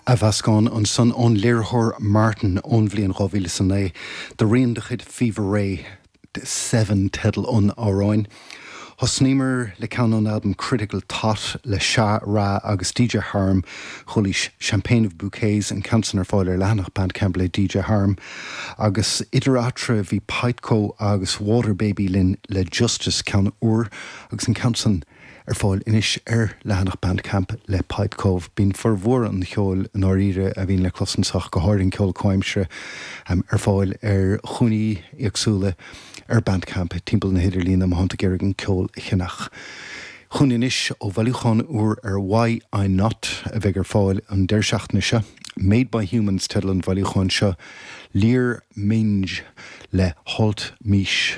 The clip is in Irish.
Athmheascán ansan ón léiritheoir Martin ón bhliain 2009 de rian de chuid Fever Ray, Seven teideal an amhráin. Thosnaíomar le ceann ón albam Critical Tot le Sha Ra agus DJ Harm, chualaís Champagne of Bouquets, an ceann san ar fáil ar leathanach Bandcamp le DJ Harm. Agus idir eatarthu bhí Pipeco agus Water Baby linn le Justice, ceann úr, agus an ceann san ar fáil anois ar leathanach Bandcamp le Pipeco. Bíonn formhór an cheoil i ndáiríre a bhíonn le clos anso, go háirithe an ceol comhaimseartha, ar fáil ar chúinní éagsúla ar Bandcamp timpeall na hidirlíne má thánn tú ag iarraidh an ceol a cheannach. Chugainn anois ó bhailiúchán úr ar Why I Not a bheidh ar fáil an deireadh seachtaine seo. Made by Humans teideal an bhailiúcháin seo, Lear Minge le Halt Mish.